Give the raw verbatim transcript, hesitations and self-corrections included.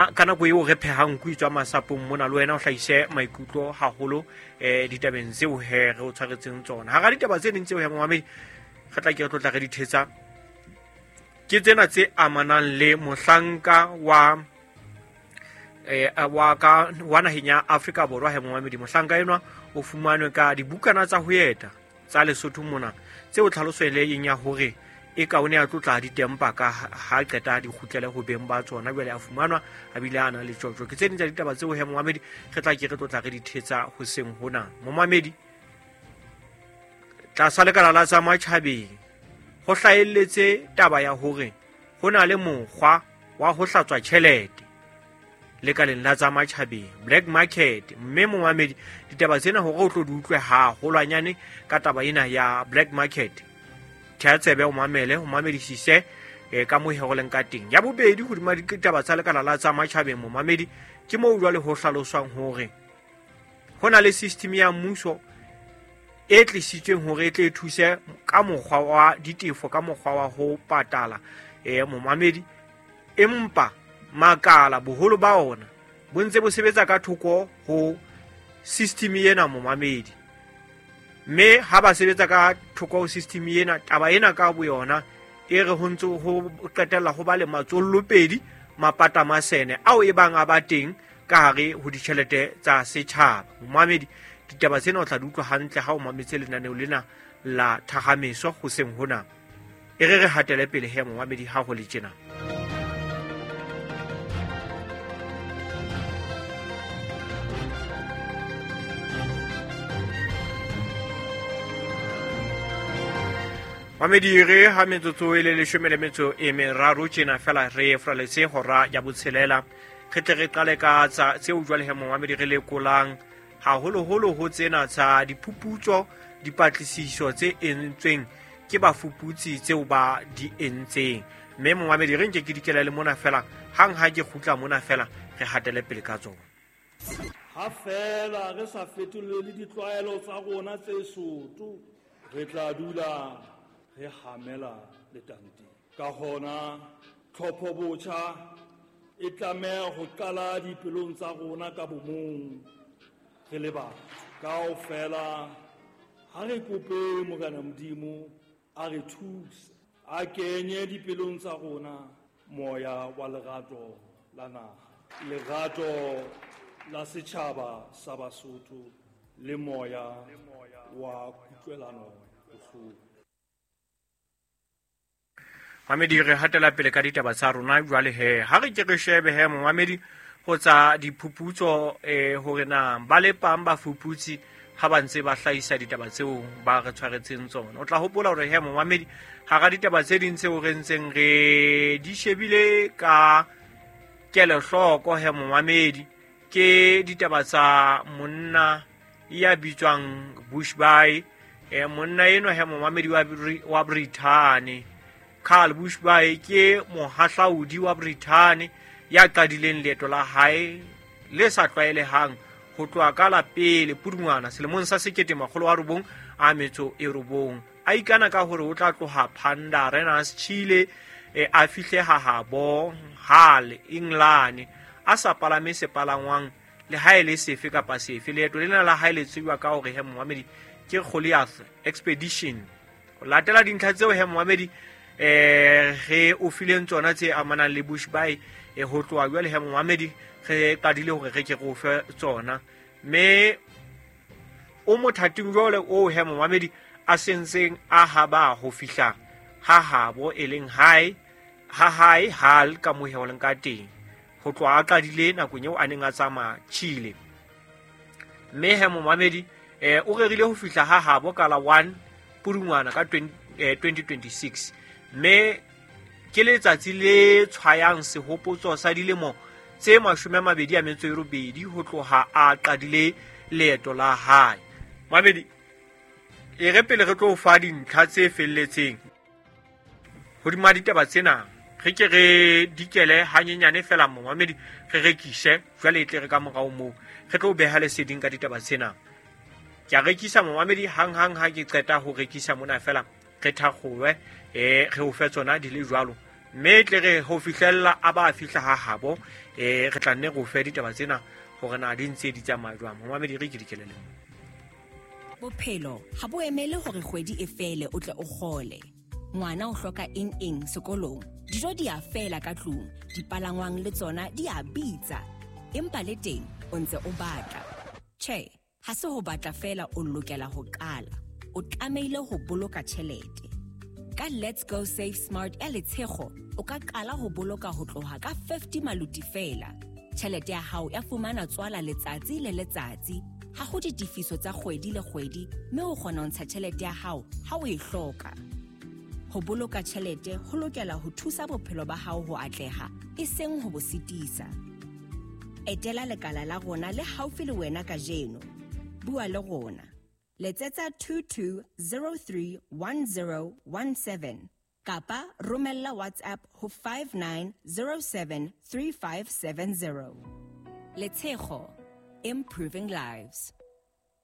Ka nako eo re phehang nku e tswa masapong mona, le wena o hlahise maikutlo haholo um ditabeng tseo he re o tshwaretseng tsona. Hara ditaba tse ding tseo he momamedi re tla ke re tlotla re di thetsa ke tsena tse amanang le mohlanka wa eh wa ka wa naheng ya Afrika Borwa he momamedi. Mohlanka enwa o fumanwe ka dibukana tsa ho eta tsa Lesotho mona, tseo tlhaloso e leng ya hore e ka o ne a tlotla ditempa ka ha qeta di kgutlele ho beng ba tsona, jwale a fumanwa a bile a na le tjotjo. Ke tse ding tsa ditaba tseo he momamedi re tla ke re tlotla re di thetsa hoseng hona. Momamedi, tlasa lekala la tsa matjhabeng ho hlahelletse taba ya hore ho na le mokgwa wa ho hlatswa tjhelete lekaleng la tsa matjhabeng, black market. Mme momamedi, ditaba tsena hore o tlo di utlwe haholwanyane ka taba ena ya black market, thea tsebe o mamele, o mamedisise eh, ka moo ho leng ka teng. Ya bobedi hodima ditaba tsa lekala la tsa matjhabeng momamedi, ke moo jwale ho hlaloswang hore ho na le system ya mmuso e tlisitsweng hore e tle e thuse ka mokgwa wa ditefo, ka mokgwa wa ho patala eh momamedi, empa makala boholo ba ona bo ntse bo sebetsa ka thoko ho system ena momamedi. Mme ha ba sebetsa ka thoko ho system ena, taba ena ka boyona e re ho ntse ho qetella ho ba le matsollopedi mapata masene ao e bang a ba teng ka hare ho ditjhelete tsa setjhaba. Momamedi, ditaba tsena o tla di utlwa hantle ha o mametse lenaneo lena la Thahameso hoseng hona. E re re hatele pele he momamedi ha ho le tjena. Mamedi, re ha metsotso e le leshome le metso e meraro tjena fela re fraletse hora ya botshelela. Re tle re qale ka tsa tseo jwale he momamedi re lekolang haholoholo ho tsena tsa diphuputso, dipatlisiso tse entsweng ke bafuputsi tseo ba di entseng. Mme momamedi re nke ke dikela le mona fela, hang ha ke kgutla mona fela re hatele pele ka tsona. Ha fela re sa fetolele ditlwaelo tsa rona tse soto, re tla dula re hamela letanteng. Ka hona tlhopho botjha e tlameha ho qala dipelong tsa rona ka bomong re le batho. Kaofela ha re kope Morena Modimo a re thuse, a kenye dipelong tsa rona moya wa lerato la naha, lerato la setjhaba sa Basotho le moya wa kutlwelano bohloko. Mamedi, re hatela pele ka ditaba tsa rona jwale he. Ha re ke re shebe he momamedi ho tsa diphuputso eh hore na ba lepang bafuputsi ha ba ntse ba hlahisa ditaba tseo ba re tshwaretseng tsona. O tla hopola hore he momamedi hara ditaba tse ding tseo re ntseng re di shebile ka kelohloko he momamedi ke ditaba tsa monna ya bitswang Bushby. Eh monna enwa he momamedi wa wa Brithani, Carl Bushby, ke mohahlaudi wa Brithani ya qadileng leeto la hae le sa tlwaelehang ho tloha ka la pele Pudungwana selemong sa sekete makgolo a robong a metso e robong. A ikana ka hore o tla tloha Panda Arenas, Chile, e a fihle ha habo Hull, England, a sa palame sepalangwang le ha e le sefe kapa sefe. Leeto lena la hae le tsejwa ka hore he momamedi ke Goliath Expedition. Ho latela dintlha tseo he momamedi eh re o fileng tsona tse amanang le Bushby e ho tloha jwale he momamedi re qadile hore re ke re o fe tsona. Mme o mothating jwale o he momamedi a sentseng a haba ho fihla ha habo e leng hae ha hae Hull ka moo he ho leng ka teng, ho tloha a qadile nakong eo a neng a tsamaya Chile. Mme he momamedi eh o rerile ho fihla ha habo ka la one Pudungwana ka twenty twenty-six. Mme ke letsatsi le tshwayang sehopotso sa dilemo tse mashome a mabedi a metso e robedi ho tloha a qadile leeto la hae. Mamedi, e re pele re tlo fa dintlha tse felletseng hodima ditaba tsena, re ke re dikele hanyenyane fela momamedi, re rekise jwale e tle re ka morao moo re tlo beha leseding ka ditaba tsena. Ke a rekisa momamedi hang hang ha ke qeta ho rekisa mona fela re thakgowe eh re o fe tsona di le jwalo. Mme tle re ho fihlella a ba fihla ha habo Eh re tla nne go fe ditaba tsena hore na di ntse di tsamaya jwang. Momamedi, re ke dikelele. Bophelo ha bo emele hore kgwedi e fele o tle o kgole. Ngwana o hloka eng eng sekolong, dijo di a fela ka tlung, dipalangwang le tsona di a bitsa. Empa le teng o ntse o batla. Tjhe, ha se ho batla fela o lokela ho qala. O tlamehile ho boloka tjhelete. Ka Let's Go Save Smart ya Letshego, o ka qala ho boloka ho tloha ka fifty maluti fela. Tjhelete ya hao ya fumana tswala letsatsi le letsatsi. Ha ho ditefiso tsa kgwedi le kgwedi, mme o kgona ho ntsha tjhelete ya hao ha o e hloka. Ho boloka tjhelete ho lokela ho thusa bophelo ba hao ho atleha, e seng ho bo sitisa. Etela lekala la rona le haufi le wena kajeno. Bua le rona. Letsetsa two two zero three one zero one seven kapa romella WhatsApp ho five nine zero seven three five seven zero. Letshego, improving lives.